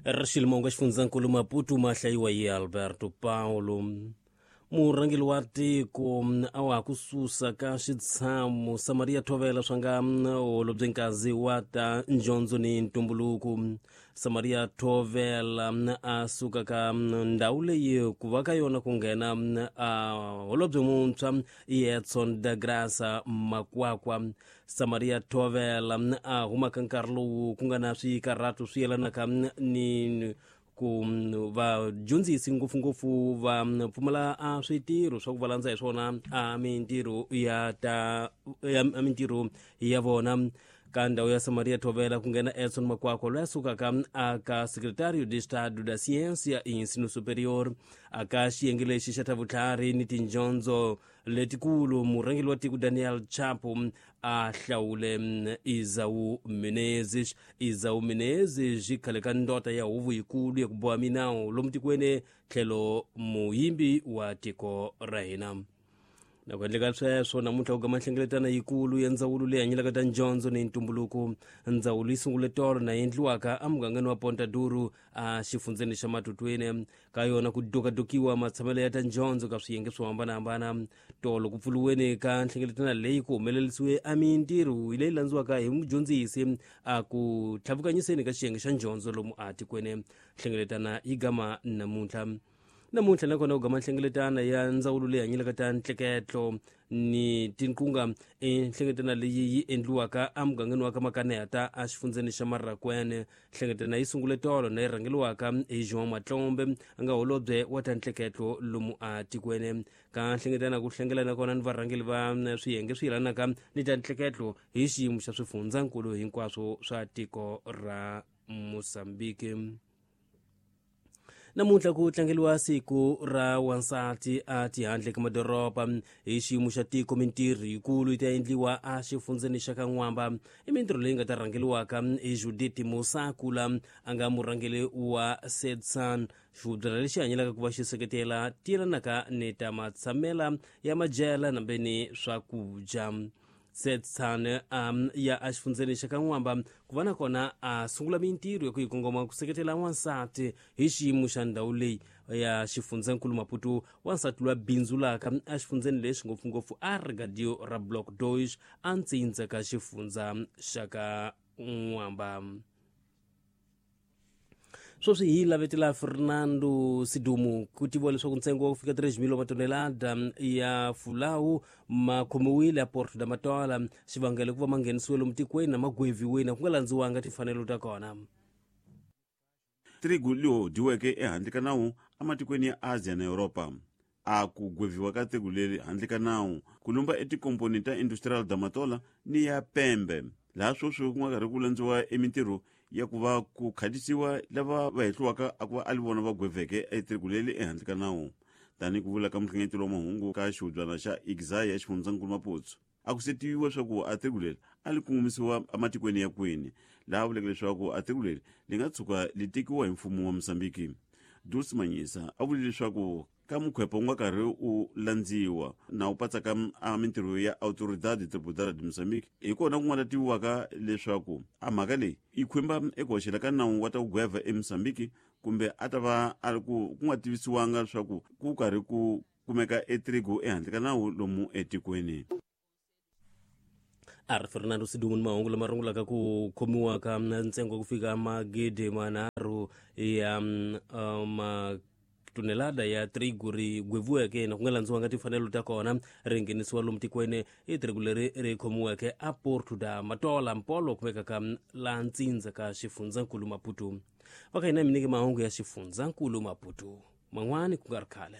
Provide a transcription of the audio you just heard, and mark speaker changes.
Speaker 1: Ri xifundzankulu Maputo ma hlayiwa hi Alberto Paulo. Murhangeri wa tiko a wa ha ku susa ka xitshamo Samaria Thovela swa nga holobye nkazi wa ta ndyondzo ni ntumbuluko. Samaria Thovela a suka ka ndhawu leyi ku va ka yona ku nghena a holobye muntshwa Edson da Graça Makwakwa. Samaria Thovela a humaka nkarhi lowu ku nga na swikarhato swi yelanaka ni ku vadyondzisi ngopfungopfu va pfumala a switirho swa ku va landza hi swona a mintirho ya ta ya mintirho ya vona. Ka ndhawu ya Samaria Thovela ku nghena Edson Makwakwa loyi a sukaka aka Secretario de Estado da Ciência e Ensino Superior aka xiyenge lexi xa ta vutlhari ni tindyondzo letikulu. Murhangeri wa tiko Daniel Chapo a hlawule Isau Menezes. Isau Menezes khale ka ndota ya huvo yikulu ya ku boha minawu lomu tikweni tlhelo muyimbi wa tiko ra hina. Na ku endleka sweswo namuntlha ku gama nhlengeletano yikulu ya ndzawulo leyi hanyelaka ta ndyondzo ni ntumbuluko. Ndzawulo yi sungule tolo na endliwaka emugangeni wa Ponta Duro a xifundzeni xa Matutweni. Ka yona ku dokadokiwa matshamelo ya ta ndyondzo ka swiyenge swo hambanahambana. Tolo ku pfuriweni ka nhlengeletano leyi ku humelerisiwe a mintirho leyi landziwaka hi mudyondzisi a ku tlhavukanyiseni ka xiyenge xa ndyondzo lomu a tikweni. Nhlengeletana yi gama namuntlha. Namuntlha nakona ku gama nhlengeletano ya ndzawulo leyi hanyelaka ta ntleketlo ni tinqunga. I nhlengeletano leyi yi endliwaka emugangeni wa ka Makaneta exifundzeni xa Marrakwene. Nhlengeletano yi sungule tolo na yi rhangeriwaka hi João Matlombe a nga holobye wa ta ntleketlo lomu a tikweni. Ka nhlengeletano ku hlengela kona ni varhangeri va swiyenge swi yelanaka ni ta ntleketlo hi xiyimo xa swifundzankulu hinkwaswo swa tiko ra Mozambique. Namuntlha ku tlangeriwa siku ra wansati a tihandle ka madoroba hi xiyimo xa tiko. Mintirho yikulu yi ta endliwa a xifundzeni xa ka N'wamba. I mintirho leyi nga ta rhangeriwaka hi Judith Musakula a nga murhangeri wa Sedsan, xihubyana lexi hanyelaka ku va xi seketela tiyelanaka ni ta matshamela ya majela nambe ni swakudya. Setsan ya exifundzeni xa ka N'wamba ku va na kona a sungula mintirho ya ku yi kongoma ku seketela wansati hi xiyimo xa ndhawu leyi ya xifundzankulu Maputo. Wansati loyi a bindzulaka exifundzeni lexi ngopfungopfu a rigadio ra Block Deutsch a ntsindza ka xifundza xa ka N'wamba. Sweswi hi lavetela Fernando Sidumu ku tiviwa leswaku ntsengo wa ku fika 3 mil wa matonelada ya fulawu ma khomiwile a Porto da Matola. Xivangelo ku va ma nghenisiwe lomu tikweni na ma gweviweni ku nga landziwanga timfanelo ta kona.
Speaker 2: Trigu liho dyiweke ehandle ka nawu ematikweni ya Asia na Yuropa. A ku gweviwa ka trigu leri handle ka nawu ku lumba etikomponi ta Industrial da Matola ni ya Pembe, laha sweswi ku nga karhi ku landziwa emintirho ya ku va ku khatisiwa lava va hehliwaka a ku va a li vona va gweveke etrigu leri ehandle ka nawu. Tanihi ku vula ka muhlengeteli wa mahungu ka xihubyana xa Igzai ya xifundzankulu Maputo, a ku se tiviwa leswaku a trigu leri a li kongomisiwa ematikweni ya kwini, laha vuleke leswaku a trigu leri li nga tshuka li tekiwa hi mfumo wa Mozambiki. Dulce Manyisa a vule leswaku ka mukhwepo wu nga karhi u landziwa na wu patsaka a mintirho ya Autoridade Tributária de Moçambique, hi kona ku nga ta tiviwaka leswaku a mhaka leyi yi khumba eku hoxela ka nawu wa ta ku gweva eMozambique kumbe a ta va a ri ku ku nga tivisiwanga leswaku ku karhi ku kumeka etrigo ehandle ka nawu lomu etikweni.
Speaker 1: A ri Fernando Sidumu ni mahungu lama rungulaka ku khomiwa ka ntsengo ku fika magidi manharhu ya matonelada ya trigu ri gweviweke na ku nga landziwanga timfanelo ta kona ri nghenisiwa lomu tikweni. I trigu leri ri khomiweke a Porto da Matola mpolo kumekaka laha ntsindza ka xifundzankulu Maputo. Va ka hina mi nyike mahungu ya xifundzankulu Maputo man'wani ku nga ri khale.